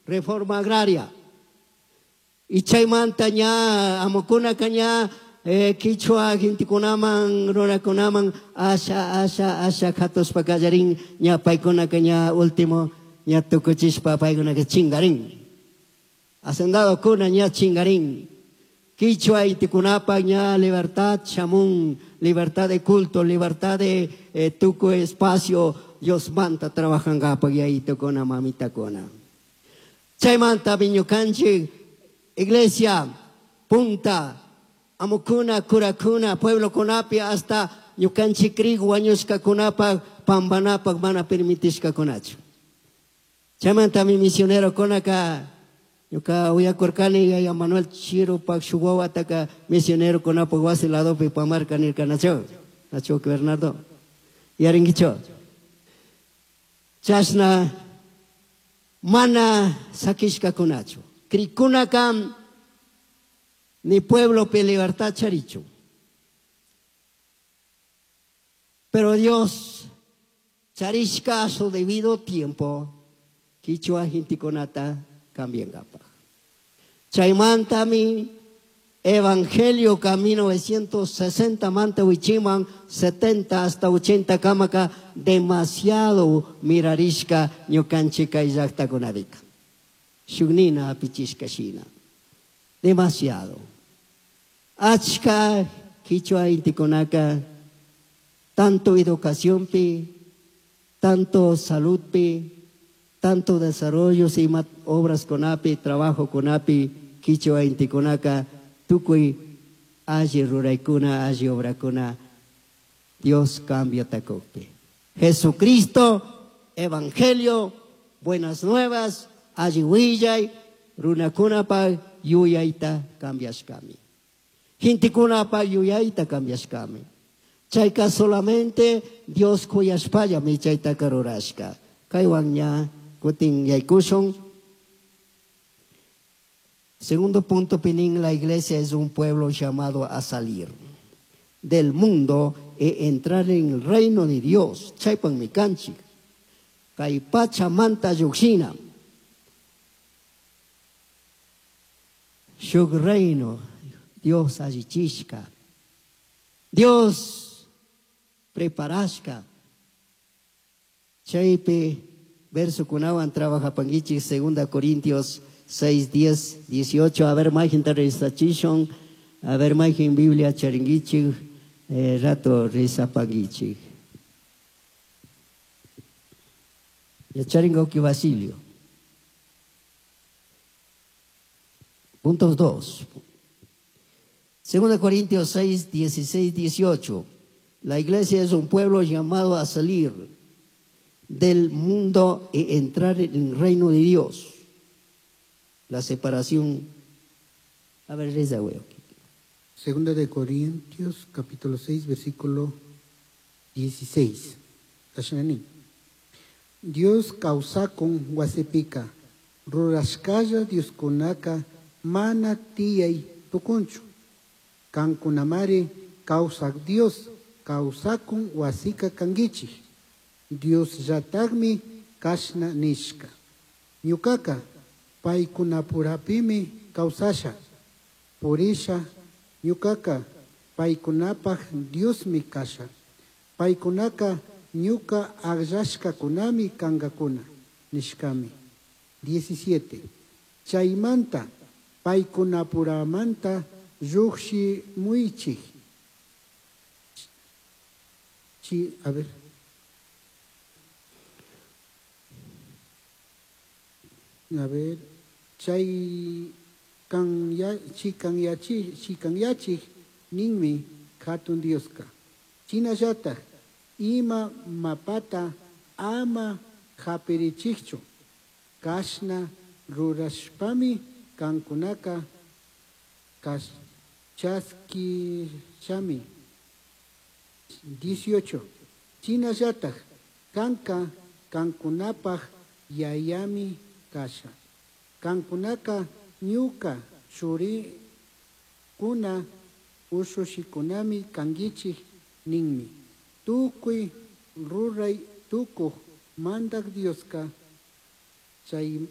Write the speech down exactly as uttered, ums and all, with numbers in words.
Reforma agraria. Y chaymanta ña amukunaka ña eh, kichwa gentekunaman runakunaman asha asha asha katushpa kallarin ña paykunaka ña último ña tukuchishpa paykunaka chingarin. Hacendadokuna ña chingarin. Kichwa intikunapaq ña libertad shamun, libertad de culto, libertad de eh, tukuy espacio Diosmanta trabajangapak yayitukuna mamitakuna. Chaymanta ñukanchik iglesia punta amukuna kurakuna pueblokunapi hasta ñukanchik krik wañushkakunapak pambanapak mana permitishkakunachu. Chaymantami misionerokunaka ñuka uyakurkani yaya Manuel Chirupak shuk wawataka misionerokunapak wasi ladopi pamarka nirkanachu. Nachu Bernardo. Yarinkichu. Chashna mana sakishkakunachu. Krikunaka ni pueblopi libertad charichu. Pero Dios charishka a su debido tiempo kichwa hintikunata cambiangapaj. Chaymantami evangelio ka mil novecientos sesenta manta wichiman setenta hasta ochenta kamaka demasiado mirarishka ñukanchik kay llaktakunapika. Shuknina apichishka shina. Demasiado. Achka kichwa intikunaka tanto educaciónpi, tanto saludpi, tanto desarrollo ima obras kunapi, trabajo kunapi, kichwa intikunaka tukuy alli ruraykuna, alli obrakuna, Dios cambia takukpi. Jesucristo, evangelio, buenas nuevas, alli willay, runakunapaq yuyayta cambiashkami. Gentekunapaq yuyayta cambiashkami. Chayka solamente Dios kuyashpallami chaytaka rurashka. Kaywan ña kutin yaykushun. Segundo punto, Pinín, la iglesia es un pueblo llamado a salir del mundo e entrar en el reino de Dios. Chaypan mi kanchik. Kay pacha manta lluqshina. Shuk reino, Dios allichishka. Dios preparashka. Chaypi verso kunawan trabajapankichik, segunda Corintios seis, diez, dieciocho. A ver, majin tarrestachishon. A ver, majin Biblia charinguichik, eh, rato rizapanguichik. Ya charingoki Basilio. Puntos dos. Segunda Corintios seis, dieciséis, dieciocho. La iglesia es un pueblo llamado a salir del mundo e entrar en el reino de Dios. La separación. A ver, reza, güey. Segunda de Corintios, capítulo seis, versículo dieciséis. Tashanani. Dios causakun wasipika, rurashkalla Dioskunaka mana tiyay tukunchu. Kankunamari kawsak Dios, kawsakun wasika kankichik. Dios llatagmi kashna nishka. Ñukaka paykunapurapimi kawsasha, purisha, ñukaka paykunapaj Diosmi kasha. Paykunaka ñuka akllashkakunami kankakuna, nishkami. Diecisiete. Chaymanta paykunapuramanta lluqshimuychik. Chi, a ver. A ver, chay kan ya, chi kan ya chi, chi kan ya chi, ninmi hatun Dioska. Chinallataq ima mapata ama hapirichikchu. Kashna rurashpami kankunaka kas, chaskishami. Dieciocho. Chinallataq kanka kankunapaj yayami kasha. Kankunaka ñuka churikuna ushushikunami kankichik ninmi. Tukuy ruray tukuj mandak Dioska Chai